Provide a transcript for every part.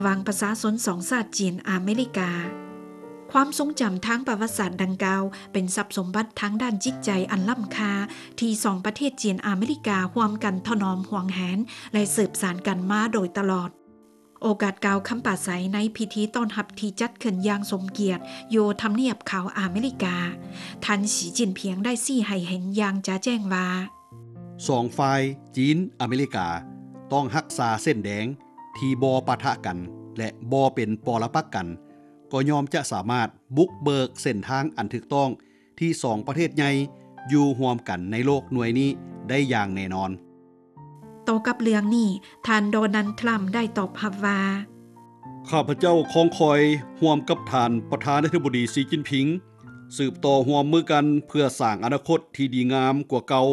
ລະຫວ່າງປະຊາຊົນສອງຊາດຈີນອາເມລິກາ. ຄວາມຊົງຈຳທາງປະຫວັດສາດດັ່ງກ່າວ ເປັນຊັບສົມບັດທາງດ້ານຈິດໃຈອັນລ້ຳຄ່າ ທີ່ສອງປະເທດຈີນອາເມລິກາຮ່ວມກັນຖະໜອມຫວງແຫນ ແລະ ສືບສານກັນມາໂດຍຕະຫຼອດ. ໂອກາດກ່າວຄຳປາໄສໃນພິທີຕ້ອນຮັບທີ່ຈັດຂຶ້ນຢ່າງສົມກຽດຢູ່ທຳນຽບຂາວອາເມລິກາ, ທ່ານ ສີ ຈິ້ນຜິງ ໄດ້ຊີ້ໃຫ້ເຫັນຢ່າງຈະແຈ້ງວ່າ, ສອງຝ່າຍ ຈີນ-ອາເມລິກາ ຕ້ອງຮັກສາເສັ້ນແດງທີ່ບໍ່ປະທະກັນ ແລະ ບໍ່ເປັນປໍລະປັກກັນ, ກໍຍ່ອມຈະສາມາດບຸກເບີກເສັ້ນທາງອັນຖືກຕ້ອງ ທີ່ສອງປະເທດໃຫຍ່ຢູ່ຮ່ວມກັນໃນໂລກໜ່ວຍນີ້ໄດ້ຢ່າງແນ່ນອນ. ຕໍ່ກັບເລື່ອງນີ້, ທ່ານ ໂດນັລ ທຣຳ ໄດ້ຕອບຮັບວ່າ, ຂ້າພະເຈົ້າຄອງຄອຍຮ່ວມກັບທ່ານປະທານາທິບໍດີ ສີ ຈິ້ນຜິງ ສືບຕໍ່ຮ່ວມມືກັນເພື່ອສ້າງອະນາຄົດທີ່ດີງາມກວ່າເກົ່າ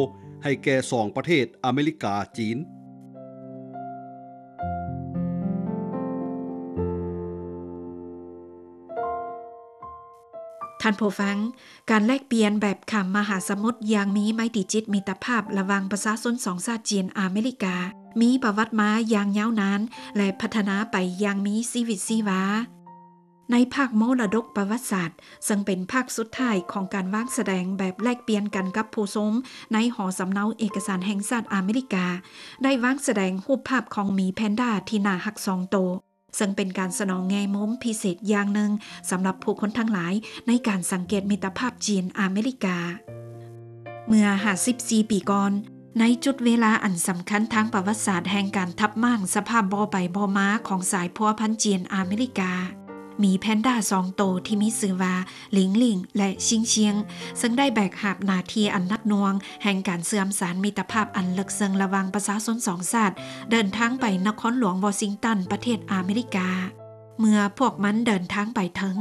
ໃຫ້ແກ່ສອງປະເທດອາເມລິກາ-ຈີນ. ທ່ານຜູ້ຟັງ, ການແລກປ່ຽນແບບຂ້າມມະຫາສະໝຸດຢ່າງມີໄມຕີຈິດມິດຕະພາບລະຫວ່າງປະຊາຊົນສອງຊາດຈີນອາເມລິກາ ມີປະຫວັດມາຢ່າງຍາວນານ ແລະ ພັດທະນາໄປຢ່າງມີຊີວິດຊີວາ. ໃນພາກມໍລະດົກປະຫວັດສາດ, ເຊິ່ງເປັນພາກສຸດທ້າຍຂອງການວາງສະແດງແບບແລກປ່ຽນກັນກັບຜູ້ຊົມໃນຫໍສຳເນົາເອກະສານແຫ່ງຊາດອາເມລິກາ, ໄດ້ວາງສະແດງຮູບພາບຂອງໝີແພນດ້າທີ່ໜ້າຮັກສອງໂຕ, ເຊິ່ງເປັນການສະໜອງແງ່ມຸມພິເສດຢ່າງໜຶ່ງສຳລັບຜູ້ຄົນທັງຫຼາຍໃນການສັງເກດມິດຕະພາບຈີນອາເມລິກາ. ເມື່ອຫ້າສິບສີ່ປີກ່ອນ, ໃນຈຸດເວລາອັນສຳຄັນທາງປະຫວັດສາດແຫ່ງການທັບມ້າງສະພາບບໍ່ໄປບໍ່ມາຂອງສາຍພົວພັນຈີນອາເມລິກາ, ໝີແພນດ້າສອງໂຕທີ່ມີຊື່ວ່າ ລິງລິງ ແລະ ຊິງຊຽງ ເຊິ່ງໄດ້ແບກຫາບໜ້າທີ່ອັນໜັກໜ່ວງແຫ່ງການເຊື່ອມສານມິດຕະພາບອັນເລິກເຊິ່ງລະຫວ່າງປະຊາຊົນສອງຊາດ ເດີນທາງໄປນະຄອນຫຼວງວໍຊິງຕັນ ປະເທດອາເມລິກາ. ເມື່ອພວກມັນເດີນທາງໄປເຖິງ,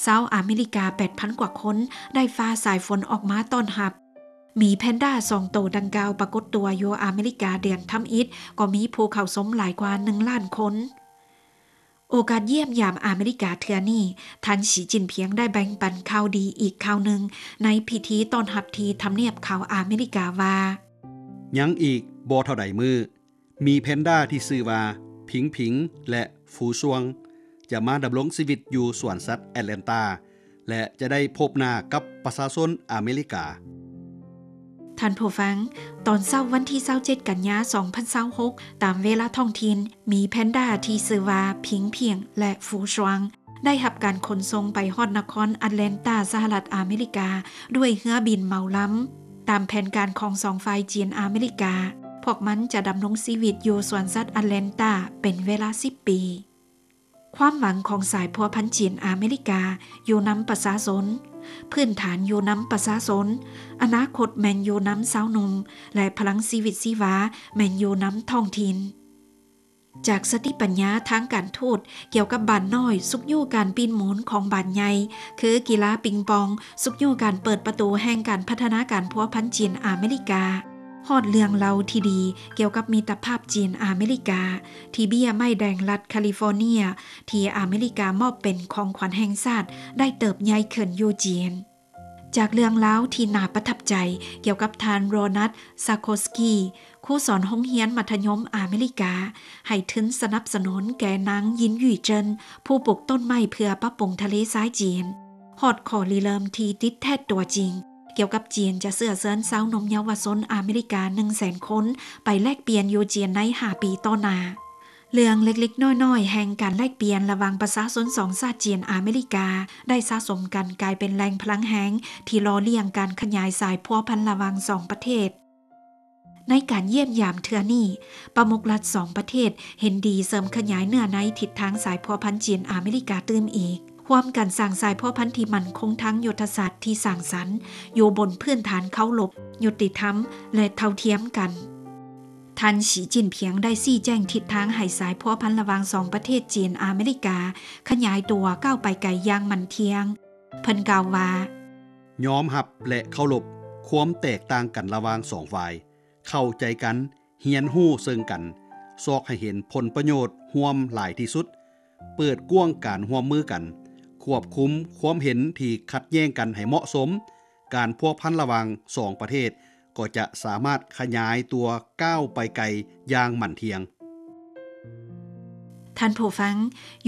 ຊາວອາເມລິກາແປດພັນກວ່າຄົນໄດ້ຟ້າສາຍຝົນອອກມາຕ້ອນຮັບ. ໝີແພນດ້າສອງໂຕດັ່ງກ່າວປາກົດຕົວຢູ່ອາເມລິກາເດືອນທຳອິດ ກໍມີຜູ້ເຂົ້າຊົມຫຼາຍກວ່າໜຶ່ງລ້ານຄົນ. ໂອກາດຢ້ຽມຢາມອາເມລິກາເທື່ອນີ້, ທ່ານ ສີ ຈິ້ນຜິງ ໄດ້ແບ່ງປັນຂ່າວດີອີກຂ່າວໜຶ່ງໃນພິທີຕ້ອນຮັບທີ່ທຳນຽບຂາວອາເມລິກາວ່າ, ຍັງອີກບໍ່ເທົ່າໃດມື້, ໝີແພນດ້າທີ່ຊື່ວ່າ ຜິງຜິງ ແລະ ຟູຊວງ ຈະມາດຳລົງຊີວິດຢູ່ສວນສັດແອັດແລນຕາ ແລະ ຈະໄດ້ພົບໜ້າກັບປະຊາຊົນອາເມລິກາ. ທ່ານຜູ້ຟັງ, ຕອນເຊົ້າວັນທີຊາວເຈັດ ກັນຍາ ສອງພັນຊາວຫົກ ຕາມເວລາທ້ອງຖິ່ນ, ໝີແພນດ້າທີ່ຊື່ວ່າ ຜິງຜິງ ແລະ ຟູຊວງ ໄດ້ຮັບການຂົນສົ່ງໄປຮອດນະຄອນແອັດແລນຕາ ສະຫະລັດອາເມລິກາ ດ້ວຍເຮືອບິນເໝົາລຳ. ຕາມແຜນການຂອງສອງຝ່າຍຈີນອາເມລິກາ, ພວກມັນຈະດຳລົງຊີວິດຢູ່ສວນສັດແອັດແລນຕາເປັນເວລາສິບປີ. ຄວາມຫວັງຂອງສາຍພົວພັນຈີນອາເມລິກາຢູ່ນຳປະຊາຊົນ, ພື້ນຖານຢູ່ນຳປະຊາຊົນ, ອະນາຄົດແມ່ນຢູ່ນຳຊາວໜຸ່ມ ແລະ ພະລັງຊີວິດຊີວາແມ່ນຢູ່ນຳທ້ອງຖິ່ນ. ຈາກສະຕິປັນຍາທາງການທູດກ່ຽວກັບບານນ້ອຍຊຸກຍູ້ການປີ້ນໝູນຂອງບານໃຫຍ່, ຄືກິລາປິງປອງຊຸກຍູ້ການເປີດປະຕູແຫ່ງການພັດທະນາການພົວພັນຈີນອາເມລິກາ, ຮອດເລື່ອງເລົ່າທີ່ດີກ່ຽວກັບມິດຕະພາບຈີນອາເມລິກາ ທີ່ເບ້ຍໄມ້ແດງລັດຄາລິຟໍເນຍ ທີ່ອາເມລິກາມອບເປັນຂອງຂວັນແຫ່ງຊາດ ໄດ້ເຕີບໃຫຍ່ຂຶ້ນຢູ່ຈີນ. ຈາກເລື່ອງລາວທີ່ໜ້າປະທັບໃຈກ່ຽວກັບທ່ານ ໂຣນັດ ຊາໂຄສກີ ຄູສອນໂຮງຮຽນມັດທະຍົມອາເມລິກາ ໃຫ້ທຶນສະໜັບສະໜູນແກ່ນາງ ຢິນ ຢຸຍເຈິນ ຜູ້ປູກຕົ້ນໄມ້ເພື່ອປັບປຸງທະເລຊາຍຈີນ, ຮອດຂໍ້ລິເລີ່ມທີ່ຕິດແທດຕົວຈິງ ກ່ຽວກັບຈີນຈະເຊື້ອເຊີນຊາວໜຸ່ມເຍົາວະຊົນອາເມລິກາໜຶ່ງແສນຄົນ ໄປແລກປ່ຽນຢູ່ຈີນໃນຫ້າປີຕໍ່ໜ້າ. ເລື່ອງເລັກໆນ້ອຍໆແຫ່ງການແລກປ່ຽນລະຫວ່າງປະຊາຊົນສອງຊາດຈີນອາເມລິກາ ໄດ້ສະສົມກັນກາຍເປັນແຫຼ່ງພະລັງແຮງທີ່ຫຼໍ່ລ້ຽງການຂະຫຍາຍສາຍພົວພັນລະຫວ່າງສອງປະເທດ. ໃນການຢ້ຽມຢາມເທື່ອນີ້, ປະມຸກລັດສອງປະເທດເຫັນດີເສີມຂະຫຍາຍເນື້ອໃນທິດທາງສາຍພົວພັນຈີນອາເມລິກາຕື່ມອີກ, ຮ່ວມກັນສ້າງສາຍພົວພັນທີ່ໝັ້ນຄົງທາງຍຸດທະສາດທີ່ສ້າງສັນ, ຢູ່ບົນພື້ນຖານເຄົາລົບ, ຍຸຕິທຳ ແລະ ເທົ່າທຽມກັນ. ທ່ານ ສີ ຈິ້ນຜິງ ໄດ້ຊີ້ແຈງທິດທາງໃຫ້ສາຍພົວພັນລະຫວ່າງສອງປະເທດຈີນອາເມລິກາຂະຫຍາຍຕົວກ້າວໄປໄກຢ່າງໝັ້ນທ່ຽງ. ເພິ່ນກ່າວວ່າ, ຍອມຮັບ ແລະ ເຄົາລົບຄວາມແຕກຕ່າງກັນລະຫວ່າງສອງຝ່າຍ, ເຂົ້າໃຈກັນ, ຮຽນຮູ້ເຊິ່ງກັນ, ຊອກໃຫ້ເຫັນຜົນປະໂຫຍດຮ່ວມຫຼາຍທີ່ສຸດ, ເປີດກວ້າງການຮ່ວມມືກັນ, ຄວບຄຸມຄວາມເຫັນທີ່ຂັດແຍ່ງກັນໃຫ້ເໝາະສົມ, ການພົວພັນລະຫວ່າງສອງປະເທດກໍຈະສາມາດຂະຫຍາຍຕົວກ້າວໄປໄກຢ່າງໝັ້ນທ່ຽງ. ທ່ານຜູ້ຟັງ